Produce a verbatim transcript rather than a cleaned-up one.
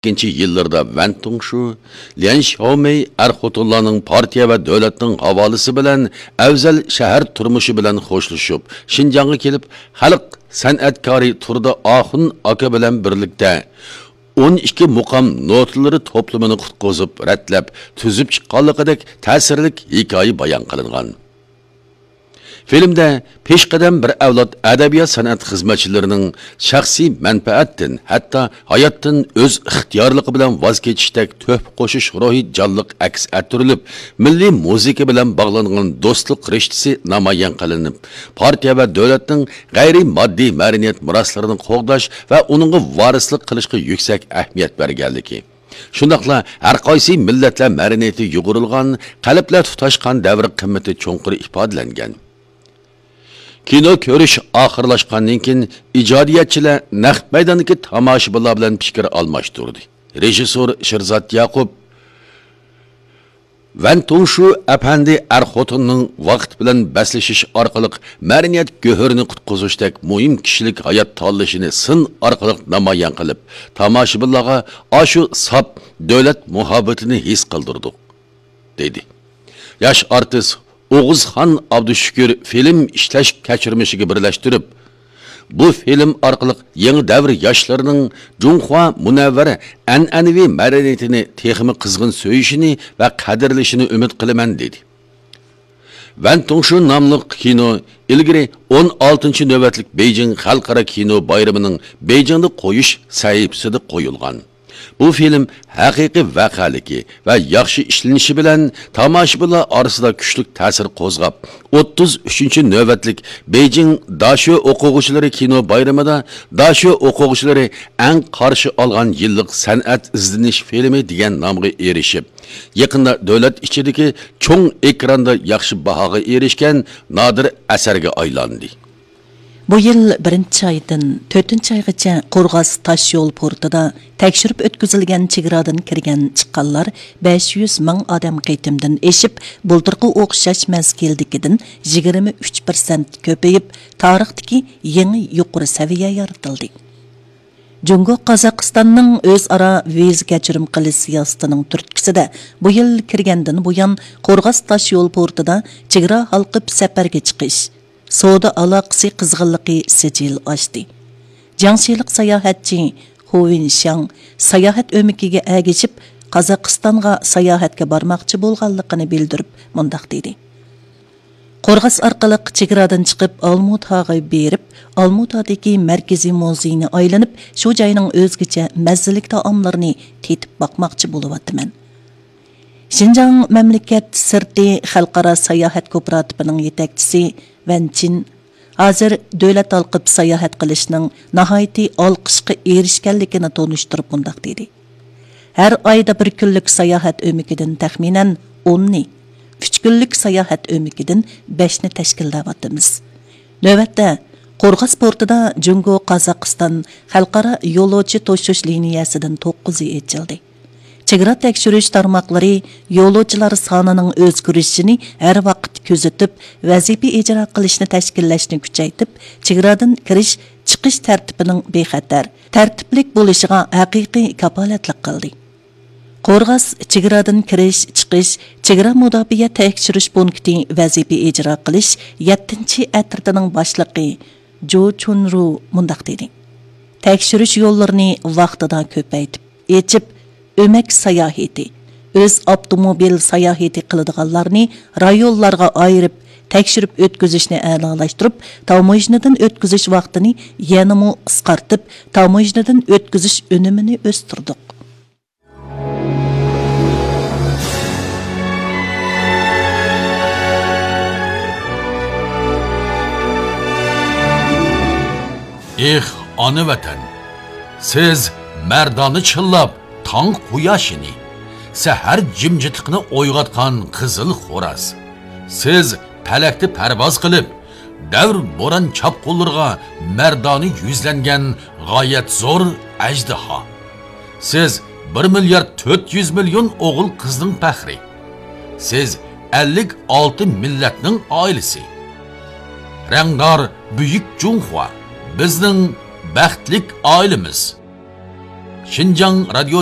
ئىككىنچى يىللىرىدا ۋەن تۇڭشۇ، ليەن شياۋمېي ئەر-خوتۇنلارنىڭ پارتىيە ۋە دۆلەتنىڭ ھاۋالىسى بىلەن ئەۋزەل شەھەر تۇرمۇشى بىلەن خوشلىشىپ، شىنجاڭغا كېلىپ، خەلق سەنئەتكارى تۇردى ئاخۇن ئاكا بىلەن بىرلىكتە ئون ئىككى مۇقام نوتىلىرى توپلىمىنى قۇتقۇزۇپ رەتلەپ تۈزۈپ چىققانلىقىدەك تەسىرلىك ھېكايە بايان قىلىنغان. فىلىمدە پېشقەدەم بىر ئەۋلاد ئەدەبىيات-سەنئەت خىزمەتچىلىرىنىڭ شەخسىي مەنپەئەتتىن، ھەتتا ھاياتتىن ئۆز ئىختىيارلىقى بىلەن ۋاز كېچىشتەك تۆھپە قوشۇش روھى جانلىق ئەكس ئەتتۈرۈلۈپ، مىللىي مۇزىكا بىلەن باغلانغان دوستلۇق رىشتىسى نامايان قىلىنىپ، پارتىيە ۋە دۆلەتنىڭ غەيرىي ماددىي مەدەنىيەت مىراسلىرىنى قوغداش ۋە ئۇنىڭغا ۋارىسلىق قىلىشقا يۈكسەك ئەھمىيەت بەرگەنلىكى، شۇنداقلا ھەرقايسى مىللەتلەر مەدەنىيىتى يۇغۇرۇلغان، قەلبلەر تۇتاشقان دەۋر قىممىتى چوڭقۇر ئىپادىلەنگەن. كىنو كۆرۈش ئاخىرلاشقاندىن كېيىن، ئىجادىيەتچىلەر نەق مەيداندىكى تاماشىبىنلار بىلەن پىكىر ئالماشتۇردى. رېژىسسور شېرزات ياقۇپ ۋەن تۇڭشۇ ئەپەندى ئەر-خوتۇننىڭ ۋاقىت بىلەن بەسلىشىش ئارقىلىق مەدەنىيەت گۆھىرىنى قۇتقۇزۇشتەك مۇھىم كىشىلىك ھايات تاللىشىنى سىن ئارقىلىق نامايان قىلىپ، تاماشىبىنلارغا ئاشۇ ساپ دۆلەت مۇھەببىتىنى ھېس قىلدۇردۇق، دېدى. ياش ئارتىس ئوغۇزخان ئابدۇشۈكۈر فىلىم ئىشلەش كەچۈرمىشىگە بىرلەشتۈرۈپ، بۇ فىلىم ئارقىلىق يېڭى دەۋر ياشلىرىنىڭ جۇڭخۇا مۇنەۋۋەر ئەنئەنىۋى مەدەنىيىتىنى تېخىمۇ قىزغىن سۆيۈشىنى ۋە قەدىرلىشىنى ئۈمىد قىلىمەن، دېدى. ۋەن تۇڭشۇ ناملىق كىنو ئىلگىرى ئون ئالتىنچى نۆۋەتلىك بېيجىڭ خەلقئارا كىنو بايرىمىنىڭ بېيجىڭدا قويۇش سەھىپىسىدە قويۇلغان. بۇ فىلىم ھەقىقىي ۋەقەلىكى ۋە ياخشى ئىشلىنىشى بىلەن تاماشىبىنلار ئارىسىدا كۈچلۈك تەسىر قوزغاپ، ئوتتۇز ئۈچىنچى نۆۋەتلىك بېيجىڭ داشۆ ئوقۇغۇچىلىرى كىنو بايرىمىدا داشۆ ئوقۇغۇچىلىرى ئەڭ قارشى ئالغان يىللىق سەنئەت ئىزدىنىش فىلىمى دېگەن نامغا ئېرىشىپ، يېقىندا دۆلەت ئىچىدىكى چوڭ ئېكراندا ياخشى باھاغا ئېرىشكەن نادىر ئەسەرگە ئايلاندى. بۇ يىل بىرىنچى ئايدىن تۆتىنچى ئايغىچە قورغاس تاشيول پورتىدا تەكشۈرۈپ ئۆتكۈزۈلگەن چېگرادىن كىرگەن چىققانلار بەش يۈز مىڭ ئادەم قېتىمدىن ئېشىپ، بۇلتۇرقى ئوخشاش مەزگىلدىكىدىن يىگىرمە ئۈچ پىرسەنت كۆپىيىپ، تارىختىكى يېڭى يۇقىرى سەۋىيە يارىتىلدى. جۇڭگو قازاقىستاننىڭ ئۆزئارا ۋىزا كەچۈرۈم قىلىش سىياسىتىنىڭ تۈرتكىسىدە، بۇ يىل كىرگەندىن بۇيان، قورغاس تاشيول پورتىدا چېگرا ھالقىپ سەپەرگە چىقىش، سودا ئالاقىسى قىزغىنلىقى سىجىل ئاشتى. جياڭشىلىق ساياھەتچى خۇ ۋىنشياڭ ساياھەت ئۆمىكىگە ئەگىشىپ، قازاقىستانغا ساياھەتكە بارماقچى بولغانلىقىنى بىلدۈرۈپ، مۇنداق دېدى: قورغاس ئارقىلىق چېگرادىن چىقىپ، ئالمۇتاغا بېرىپ، ئالمۇتادىكى مەركىزىي مۇزېينى ئايلىنىپ، شۇ جاينىڭ ئۆزگىچە مەززىلىك تائاملىرىنى تېتىپ باقماقچى بولۇۋاتىمەن. شىنجاڭ مەملىكەت سىرتى خەلقئارا ساياھەت كوپىراتىپىنىڭ يېتەكچىسى ۋەن چىن ھازىر دۆلەت ھالقىپ ساياھەت قىلىشنىڭ ناھايىتى ئالقىشقا ئېرىشكەنلىكىنى تونۇشتۇرۇپ مۇنداق دېدى: ھەر ئايدا بىر كۈنلۈك ساياھەت ئۆمىكىدىن تەخمىنەن ئوننى، ئۈچ كۈنلۈك ساياھەت ئۆمىكىدىن بەشنى تەشكىللەۋاتىمىز. نۆۋەتتە، قورغاس پورتىدا جۇڭگو قازاقىستان خەلقئارا يولۇچى توشۇش لىنىيەسىدىن توققۇزى ئېچىلدى. چېگرا تەكشۈرۈش تارماقلىرى يولۇچىلار سانىنىڭ ئۆزگىرىشىنى ھەر ۋاقىت كۆزىتىپ، ۋەزىپە ئىجرا قىلىشنى تەشكىللەشنى كۈچەيتىپ، چېگرادىن كىرىش، چىقىش تەرتىپىنىڭ بىخەتەر، تەرتىپلىك بولۇشىغا ھەقىقىي كاپالەتلىك قىلدى. قورغاس چېگرادىن كىرىش، چىقىش، چېگرا مۇداپىئە تەكشۈرۈش پونكىتى ۋەزىپە ئىجرا قىلىش يەتتىنچى ئەترىتىنىڭ باشلىقى جۇ چۇنرۇ مۇنداق دېدى: تەكشۈرۈش يوللىرىنى ۋاقتىدا كۆپەيتىپ، ئېچىپ، ئۆمەك ساياھىتى، ئۆز ئاپتوموبىل ساياھىتى قىلىدىغانلارنى رايونلارغا ئايرىپ، تەكشۈرۈپ ئۆتكۈزۈشنى ئەلالاشتۇرۇپ، تاموژنىدىن ئۆتكۈزۈش ۋاقتىنى يەنىمۇ قىسقارتىپ، تاموژنىدىن ئۆتكۈزۈش ئۈنۈمىنى ئۆستۈردۇق. ئېھ، ئانا ۋەتەن! سىز مەردانە چىللاپ تاڭ قۇياشىنى، سەھەر جىمجىتلىقىنى ئويغاتقان قىزىل خوراز. سىز پەلەكتە پەرۋاز قىلىپ، دەۋر بوران چاپقۇنلىرىغا مەردانە يۈزلەنگەن غايەت زور ئەجدىھا. سىز بىر مىليارد تۆت يۈز مىليون ئوغۇل قىزنىڭ پەخرى. سىز ئەللىك ئالتە مىللەتنىڭ ئائىلىسى. رەڭدار بۈيۈك جۇڭخۇا، بىزنىڭ بەختلىك ئائىلىمىز. شىنجاڭ رادىيو